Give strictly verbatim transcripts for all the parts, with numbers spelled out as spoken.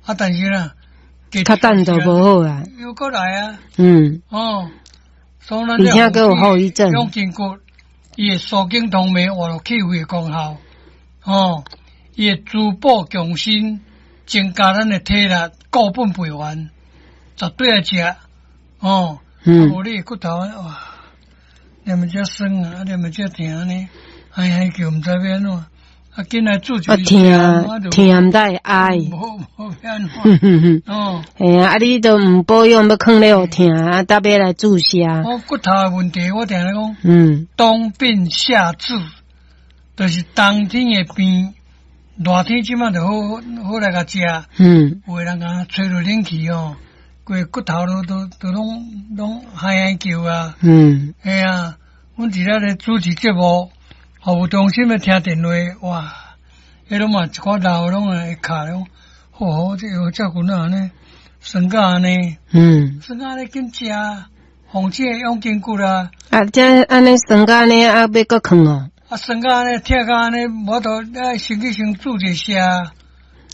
啊，但是啦，較等就無好啊。又閣來啊。嗯。哦，所以咱而且閣有後遺症。養筋骨，伊會舒筋通脈，活絡氣血的功效。哦，伊會滋補強身，增加咱的體力，固本培元，絕對愛食。哦，嗯，無你骨頭哇，連咪遮酸啊，連咪遮疼呢，唉唉叫，毋知欲按怎，啊，緊來注啊，疼疼毋知會哀。無無欲按怎。哦，嘿啊，啊你都毋保養，欲囥咧予疼，啊，搭欲來注射。我骨頭的問題，我定咧講，嗯，冬病夏治，就是冬天的病，熱天這擺就好好來共食。嗯，有的人講吹著冷氣哦，規骨頭都都都攏攏嗨嗨叫啊。嗯，嘿啊，阮佇咧咧主持節目，服務中心咧聽電話，哇，彼攏嘛一寡老攏會卡咧，好好，這藥照顧哪按呢，酸甲按呢，嗯，酸甲按呢緊食，防止養筋骨啊。啊，這按呢酸甲按呢，啊，欲閣囥哦。啊，酸甲按呢，疼甲按呢，無法度愛先去先注一下，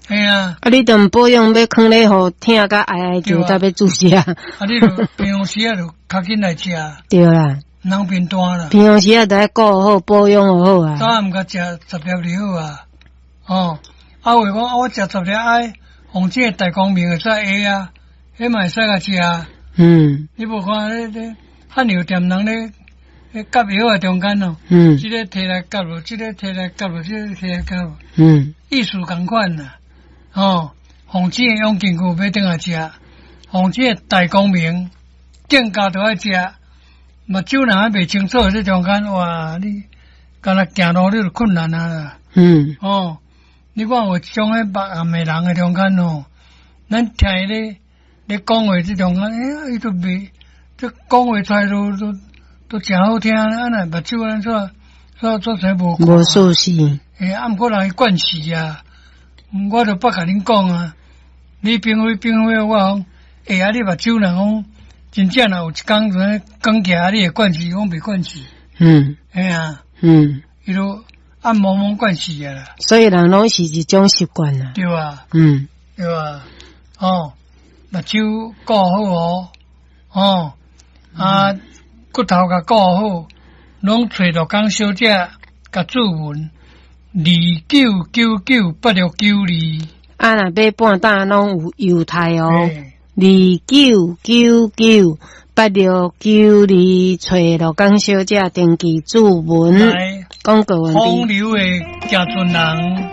嘿啊。啊，你都毋保養，欲囥咧予疼甲哀哀叫，才欲注射。啊，你就平常時啊，就較緊來食。對啦。人變大啦。平常時啊，就愛顧好保養好啊。早暗共食十粒就好啊。哦，啊有講啊，我食十粒愛，防止大光明會使會啊，彼嘛會使共食啊。嗯。你無看咧咧漢藥店人咧，咧夾藥仔中間哦。嗯。這個提來夾落，這個提來夾落，這個提來夾落。嗯。意思仝款啦。哦，防止養筋骨欲轉來食，防止大光明更加都愛食。目睭若還袂清楚，這中間哇，你敢若行路你就困難啊啦。嗯。哦，你看有一種彼目暗的人的中間哦，咱聽伊咧咧講話這中間，欸，伊都袂，這講話出來都都都誠好聽，啊若目睭按怎做做做無無舒適。欸，啊，毋過人伊慣勢啊，我就捌共恁講啊，你並非並非我講，欸，啊，你目睭若講真正若有一工就按呢光起來，你會慣勢，講袂慣勢。嗯。嘿啊。嗯。伊都按濛濛慣勢啊啦。所以人攏是一種習慣啦。對啊。嗯。對啊。哦，目睭顧好哦，哦，啊，骨頭共顧好，攏揣陸江小姐共注文，二九九九八六九二。啊，若買半擔攏有優待哦。二九九九八六九二，揣陸江小姐登記注文。廣告完畢。風流的誠濟人。